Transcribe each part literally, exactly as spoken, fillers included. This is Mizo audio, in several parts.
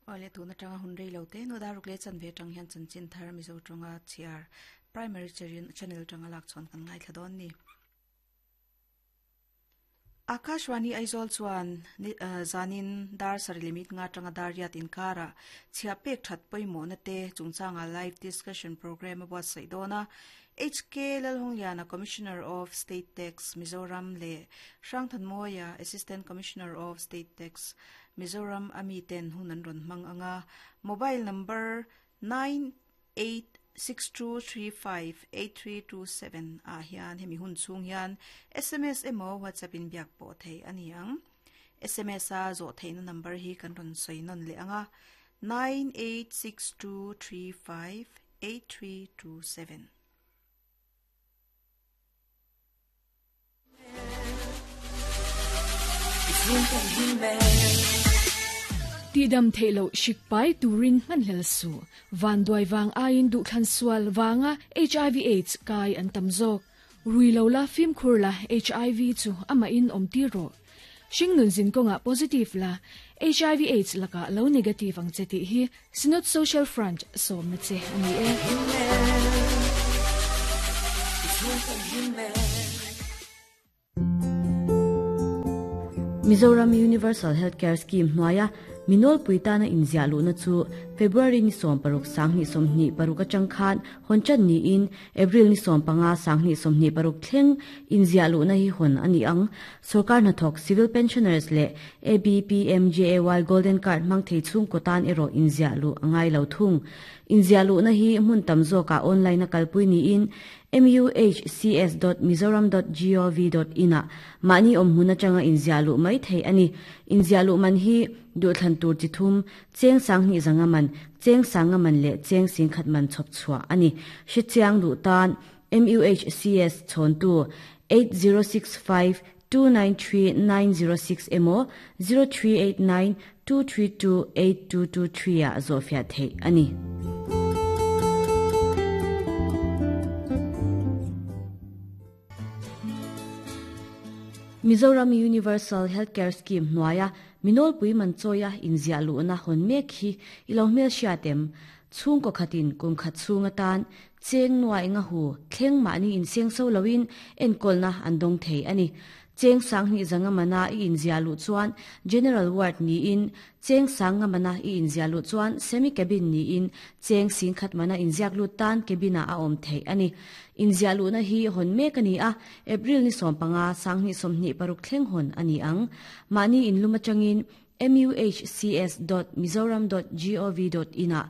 Ole tuna tanga hun rei lo te no daruk le chan ve tang hian chanchin thar Mizo tonga chiar primary channel tanga lak chon kan ngai thladon ni. Akashwani Aizawl chuan zanin dar sari limit nga tanga dariat inkara chhia pek that poimo na te chungchanga live discussion program a buatsaih dawna H K Lalhungliana Commissioner of State Tax Mizoram le Hrangthanmawia Assistant Commissioner of State Tax Mizoram ami ten hunan ron hmang anga mobile number nine eight six two three five eight three two seven a hian hemi hun chung hian S M S emo WhatsApp in biak pawh thei ani ang. S M S a zawh theihna number hi kan rawn sawi nawn leh anga nine eight six two three five eight three two seven. Ti dam theilo shikpai turin manhlel su van duai wang ain du thlan sual wanga H I V AIDS kai an tamzok ruilo la fim khur la H I V chu ama in om ti ro shingnun zin konga positive la H I V AIDS laka lo negative ang cheti hi Synod Social Front som na che ani e. Mizoram Universal Healthcare Scheme hnuaia minol puitana inzia lu na chu February ni som paruk sangni somni paruk atang khan honchan ni in April ni som panga sangni somni paruk thleng inzia lu na hi hon ani ang sarkar na thok civil pensioners le A B P M J A Y Golden Card mang thei chung kotan ero inzia lu angai lo thung inzia lu na hi mun tamzo ka online na kalpui ni in m u h c s dot mizoram dot gov dot in a mani om huna changa inzia lu mai thei ani inzia lu man hi du thlan tur chi thum cheng sang ni zanga man cheng sanga man le cheng sing khat man chop chua ani shi chiang du tan M U H C S chon tu eight zero six five two nine three nine zero six emo zero three eight nine two three two eight two two three a zofia thei ani. Mizoram Universal Healthcare Scheme hnuaia minol pui man choya inzia lu na hon mek hi ilo hmel hriatem chhung ko khatin kum khat chhunga tan cheng nuai nga hu thleng mani in seng so lowin enkol na andong thei ani cheng sang ni zanga mana i inzia lu chuan general ward ni in cheng sanga mana i inzia lu chuan semi cabin ni in cheng sing khat mana inziak lu tan cabina a om thei ani inzia lu na hi hon mek ani a April ni som panga sang ni somni paruk thleng hon ani ang mani in luma changin m u h c s dot mizoram dot gov dot in a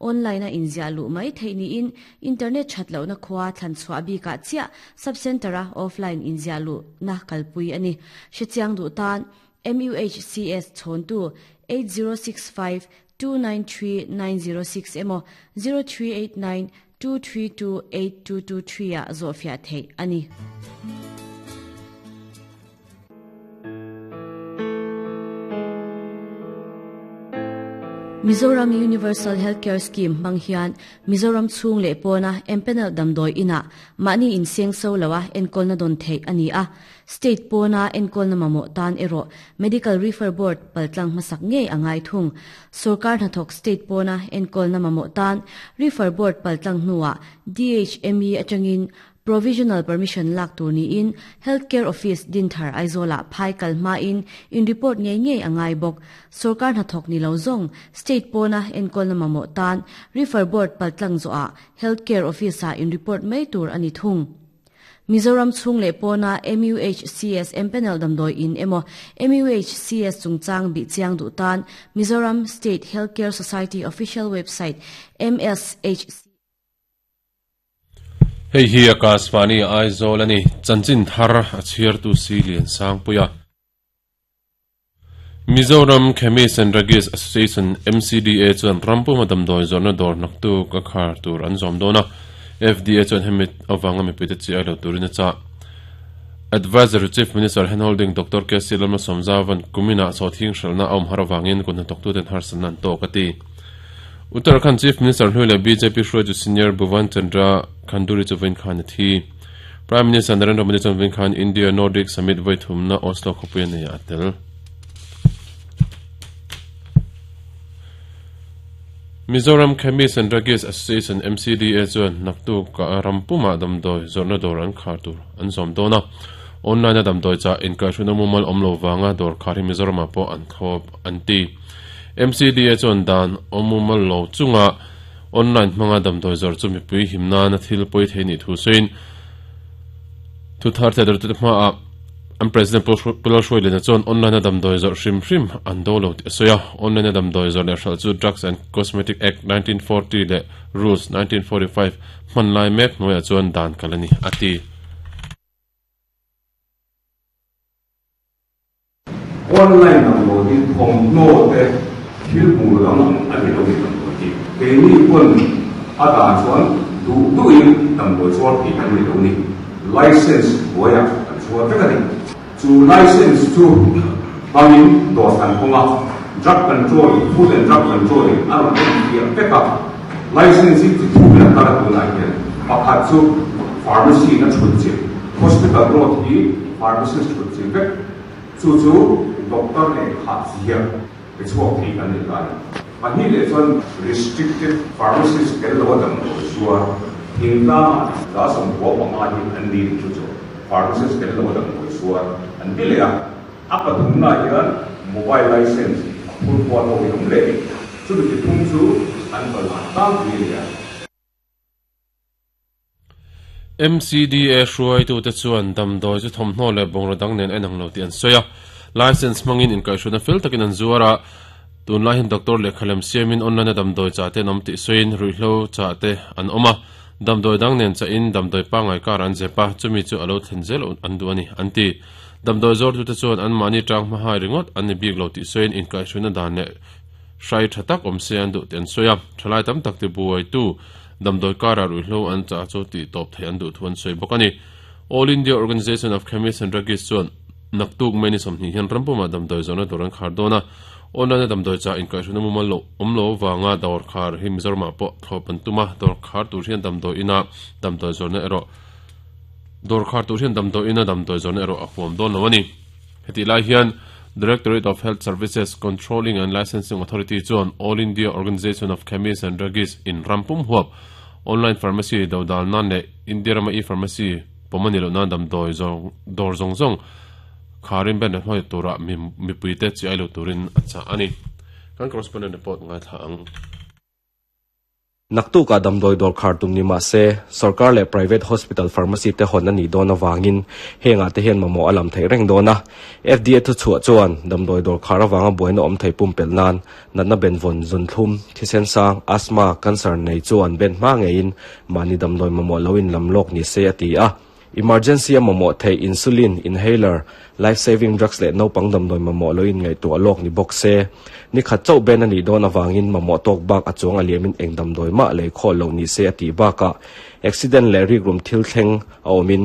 online a inzia lu mai thei ni in internet thatlo na khwa thlan chwa bi ka chia sub center a offline inzia lu na kalpui ani hrichiang du tan M U H C S chon tu eight zero six five two nine three nine zero six emo zero three eight nine two three two eight two two three a zofia thei ani. Mizoram Universal Healthcare Scheme manghian Mizoram chung le pona empanel damdoi ina mani in seng so lawa enkol na don thei ani a state pona enkol na mamo tan ero medical refer board paltlang masak nge angai thung sarkar na thok state pona enkol na mamo tan refer board paltlang nuwa D H M E atangin provisional permission lak tur ni in healthcare office dinthar aizola phai kalma in in report nge nge angai bok sarkar na thok ni lo zong state pona enkol na mamo tan refer board paltlang zo a healthcare office a in report mai tur ani thung Mizoram chung le pona M U H C S empanel damdoi in emo M U H C S chungchang bi chiang du tan Mizoram State Healthcare Society official website M S H C Hei hi Akashvani Aizawl ani chanchin thar a chhiar tu si lian sang puya Mizoram Chemist and Druggist Association M C D A chuan rampu madam doi zawrna dawr naktu ka khar tur an zawm dawna F D A chuan hemi awanga mipui te chi ai lo turin a cha Advisor Chief Minister Handholding Doctor K C Lalma Somzavan kumina sawthing hralna awm har awangin kun hnathawk tu ten harsan an tawk a ti Uttarakhand Chief Minister Hnuile B J P hruaitu Senior Bhuvan Chandra Khanduri chu vain khan a thi Prime Minister Narendra Modi chuan vain khan India Nordic Summit voi thumna Oslo khawpui a nei a tel. Mizoram Chemists and Druggist Association M C D A chuan naktu ka rampuma damdoi zorna dor an khar tur an zom dona online a damdoi cha inkaishuna mumal omlo wanga dor khari Mizoram po an khop anti M C D A chuan dan omumal lo chunga online manga damdoi zor chu mi pui himna na thil poi theini thu sein thu thar the dor tu ma a am president Pulal Shoi chuan online a damdoi zor hrim hrim an do lo ti soya online a damdoi zor le hral chu Drugs and Cosmetic Act nineteen forty le Rules nineteen forty-five man lai mek noya chuan dan kalani ati online damdoi hi thom no te thil mu lam ani lo ni damdoi hi ke ni pon a da chuan du du in damdoi chuan ti kan ni lo ni license boya an chuan vek ani chu license chu bangin do san konga drug control food and drug control in aron ti peka license ti thu na kala tu na hian pakhat chu pharmacy na chhut chi hospital road hi pharmacist chhut chi vek chu chu doctor le kha zia pe chuak thei kan ni lai pani le chuan restricted pharmacist kel lo dam do chua thingta da som ko panga hi an ni chu chu pharmacist kel lo dam do chua an ti le a apathum na hian mobile license phul ko lo yom le chu ti thum chu an bal tang ni le M C D A hruai tu te chuan damdoi chu thomhnaw le bongra dang nen enang lo ti an soya license mangin in kaishuna fel takin an zuara tun lai hin doctor le khalem siamin online a damdoi cha te nom ti soin ruihlo cha te an oma damdoi dang nen cha in damdoi pangai kar an zepa chumi chu alo thlen zel an du ani anti damdoi zor tu te chuan an mani tang ma hai ringot an ni bik lo ti soin in kaishuna dan le hrai thatak om se an du ten soya thalai tam tak ti buai tu damdoi kara ruihlo an cha chu ti top thei an du thuan soi bokani All India Organization of Chemists and Druggists chuan naktuk meni somni hian rampuma damdoi zona doran khar dona online damdoi cha in kaishuna mumal lo omlo wanga dor khar hi Mizoram po thopan tuma dor khar tur hian damdoi ina damdoi zona ero dor khar tur hian damdoi ina damdoi zona ero ahuam don lo ani heti lai hian Directorate of Health Services Controlling and Licensing Authority chuan All India Organization of Chemists and Druggists in Rampum huap online pharmacy dodal nan le India rama e pharmacy pomani lo nan damdoi zong dor zong zong kharin ben hoi tura mi mi puite chi ailo turin acha ani kan correspondent report ngai tha ang naktu ka damdoi dor khar tum ni ma se sarkar le private hospital pharmacy te hon ani dona wangin henga te hian mamo alam thei reng dona F D A thu chua chuan damdoi dor khar awanga boina om thei pum pel nan natna ben von zun thlum thisen sang asthma cancer nei chuan ben ma ngein mani damdoi mamo loin lamlok ni se ati a emergency mamo thei insulin inhaler life saving drugs le no pang damdoi mamo loin ngai tu alok ni box se ni khat chau ben ani don awangin mamo tok bak achuang aliamin eng damdoi ma le kho lo ni se ati ba ka accident le rik rum thil thleng a omin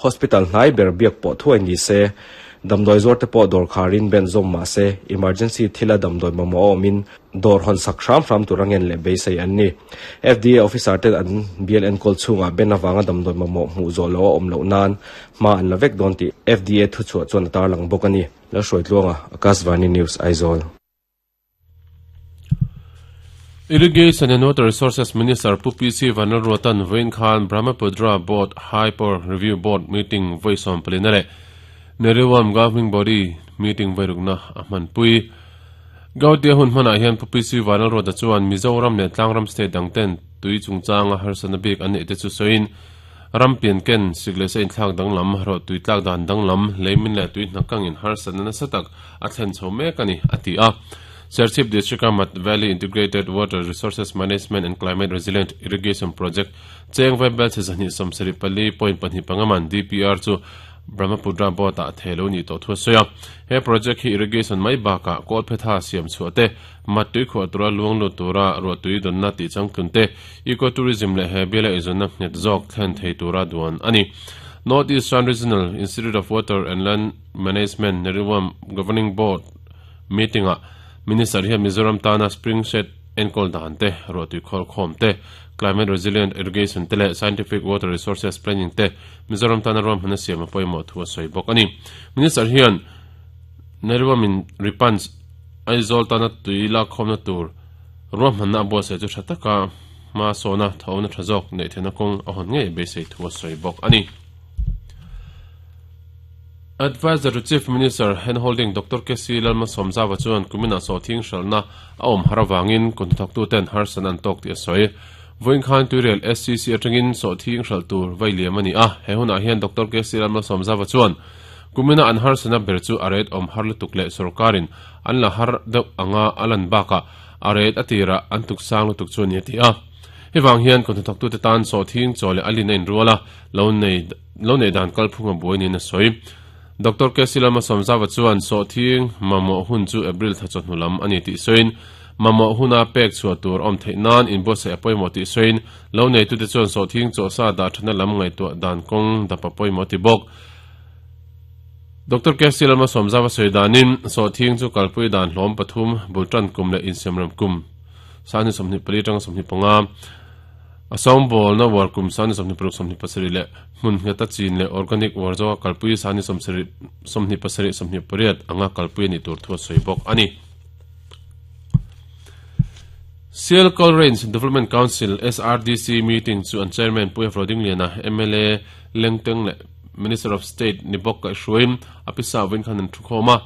hospital hnai ber biak po thuai ni se damdoi zor te po dor kharin ben zom ma se emergency thila damdoi mamo omin dor hon sak hram hram turangen le beisei an ni F D A officer te an B L N kol chunga ben awanga damdoi mamo hmu zo lo om lo nan ma an lavek don ti F D A thu chua chuan tar lang bok ani la hroi tluanga Akashvani News Aizawl. Irrigation and Water Resources Minister Pu P C Vanlalruatan Vain Khan Brahmaputra Board High Power Review Board meeting voice on plenary Neriwam Governing Body meeting vairukna ahman pui Gautia hun hmana hian Pu P C Vanlalruata chuan Mizoram le Tlangram state dangten tui chungchanga harsana bik an nei te chu soin rampian ken sigle se in thlak danglam ro tui tlak dan danglam leimin le tui hnakang in harsana na satak a thlen chho mek ani ati a Serchhip District Mat Valley Integrated Water Resources Management and Climate Resilient Irrigation Project Cheng Vai Bel Chezani Somsari Pali Point Panhi Pangaman D P R chu Brahmaputra Board a thelo ni to thu soya he project hi irrigation mai baka kol phetha siam chuate matui kho tura luang lo tura ro tui don na ti changtlun te ecotourism le he bela izona net zok thlen thei tura duan ani North Eastern Regional Institute of Water and Land Management Neriwam Governing Board meeting a Minister hi Mizoram tana spring shed enkol dan te ro tui khol khom te climate resilient irrigation te le scientific water resources planning te Mizoram tana rom hana siam apoimo thu soi bok ani Minister hian Neriwam in ripans Aizawl tana tui la khomna tur Ruahmanna a buatsaih chu tha taka hma sawna thawhna tha zawk neih theihna kawng a hawn ngei beisei thu a sawi bawk a ni. Advisor to Chief Minister Handholding Doctor K C Lalmalsawmzawa chuan kumina sawhthing hralhna a awm har avangin kawngthawktu ten harsan an tawk tih a sawi. Vawiin khan Tuirial S C C atangin sawhthing hralh tur vai liam a ni a. He hunah hian Doctor K C Lalmalsawmzawa chuan kumina an harsana ber chu a ret awm har lutuk leh sorkarin an la har deuh anga a lan bakah a ret a tirah an tuk sang lutuk chu a ni a ti a. Hewang hian kawngthawktu te tan sawhthing chaw leh a lin a inrual a, lo nei lo nei dan kalphung a buai niin a sawi. Doctor K C Lalmalsawmzawa chuan sawhthing mamawh hun chu April tha chawhnu lam a ni tih sawiin mamawh huna pek chhuah tur awm theih nan inbuatsaih a pawimawh tih sawiin lo neitute chuan sawhthing chaw sa dah thana lam ngaihtuah dan kawng dap a pawimawh ti bawk. Doctor K C Lalmalsawmzawa sawi danin sawhthing chu kalpui dan hlawm pathum bultan kum leh insemram kum sani sawmhnih pali tanga sawmhnih panga a sawngbawl na war kum sani sawmhnih paruk sawmhnih pasarih leh hmun ngheta chin leh organic war zawka kalpui sani sawmsarih sawmhnih pasarih sawmhnih pariat anga kalpui a ni tur thu a sawi bawk a ni. Sialkal Range Development Council S R D C meeting chu an chairman Puia Rodingliana M L A Lengteng leh Minister of State ni bawk kaihhruain a pisa vawiin khan an thu khawm a.